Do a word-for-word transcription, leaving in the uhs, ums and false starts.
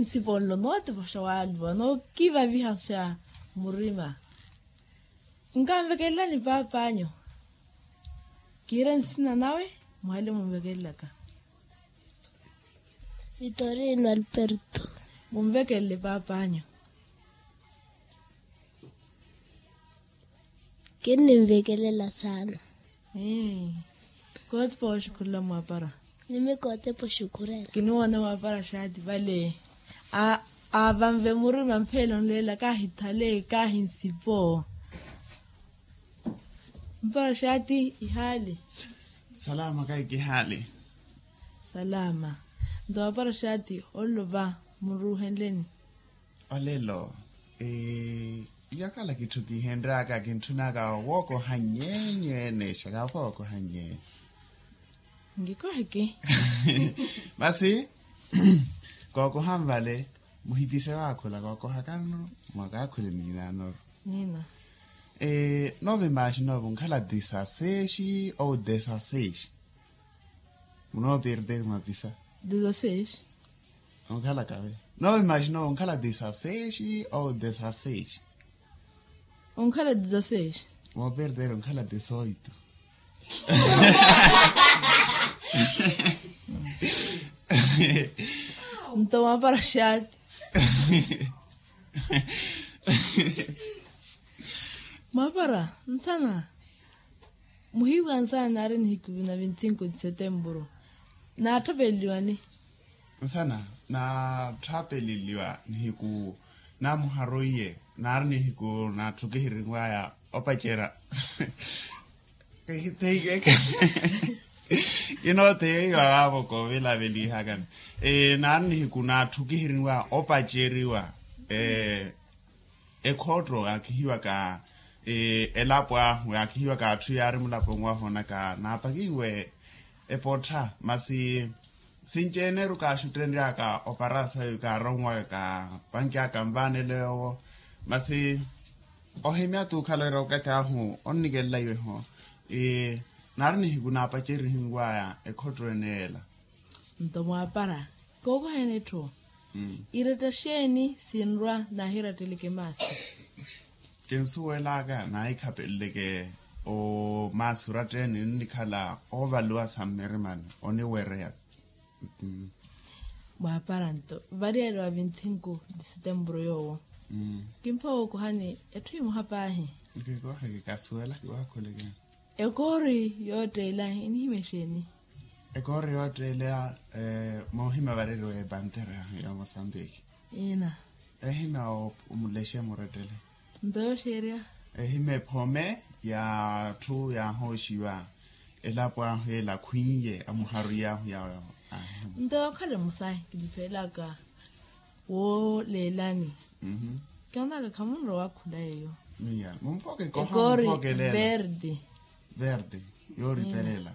Nsiponlo nootipoxa waluwa nookivavihaxa murima. Nkanvekelelani paap'anyu. Kiire nsina nawe muhale munvekelelaka. Vitorino alberto. Munvekelele paap'anyu. Kinninvekelela saana. Kootepa oxukhurela mwaapara. Nimi kootepa oxukhurela. Kiniwoona mwaapara xaati vale. Avanve murima mpheela onleela kaahithale kaahinsipo. Mpara xaati ihaali. Salama kaiki ihaali. Salama. Nto mwaapara xaati onlova muruuhenleni. Olelo. Iyakhala kitthu kihenry'aka kintthun'aka wookoha nyeenyu ene exaka wookoha nyeenyu. Nkikoheke. Masi kookoha nvale. Muhipise waakhula kookohakano mwakaakhule miinanoru. Nina. Noovimaaxina ove onkhala disasexi ou desasexi? Munooperteri mwapisa. Disasexi. Onkhala kave. Noovimaaxina ove onkhala disasexi ou desasexi? Onkhala disasexi. Mooperteri onkhala disoitu. Nto mwaapara xaati. Mwaapara nsana. Muhiiwa nsana naari nihiku na vinti cinco de setemburu. Naatthapeleliwani? Nsana naatthapeleliwa nihiku namuharoiye. Naari nihiku naatthukihirinwaya opacerya. Kinooteiwa vaavo koovilavelihakani. Naari nihiku naatthukihirinwaya opaceriwa. Ekhotto yaakihiwaka elapo ahu yaakihiwaka atthu yaari mulaponi wahu onaka naapakiwe. Epottha masi sinci-ene eru kaaxuttenry'aka opara sayu kaaronwaka kaapanky'aka nvaanelo yoowo. Masi ohimya t'ukhala wira okathi ahu onnikelelayiwe-ho. Naari nihiku naapacerihinwaya ekhotto ene ela. Nto mwaapara kookoheni etthu. Iretta xeeni sinrwa naahiratteleke maasi? Kinsuwel'aka naahikhapeleleke. Maasi oratteni nnikhala oovaliwa sa mmirimani oniwereya. Mwaapara nto variyari wa vinti cinco de setemburu yoowo. Kimpha wookohani etthu emoha paahi. Nkikoheke kasuwela kiwaakhuleke. Ekoori yootteela enihimya exeeni? Ekoori yootteela moohimya vareriwa epantera ya mosambiki. Ina. Ehimya omulexe murettele. Nto yooxeerya? Ehimya ephome ya atthu yaahooxiwa elapo ahu ela akhwiiye amuharuyi ahu yawo. Nto yookhala emosa kiniphelaka wooleelani. Kionaka khamunrowa wakhula yeeyo. Mumpoke koha mumpokelela. Verde. Verde yooripelela.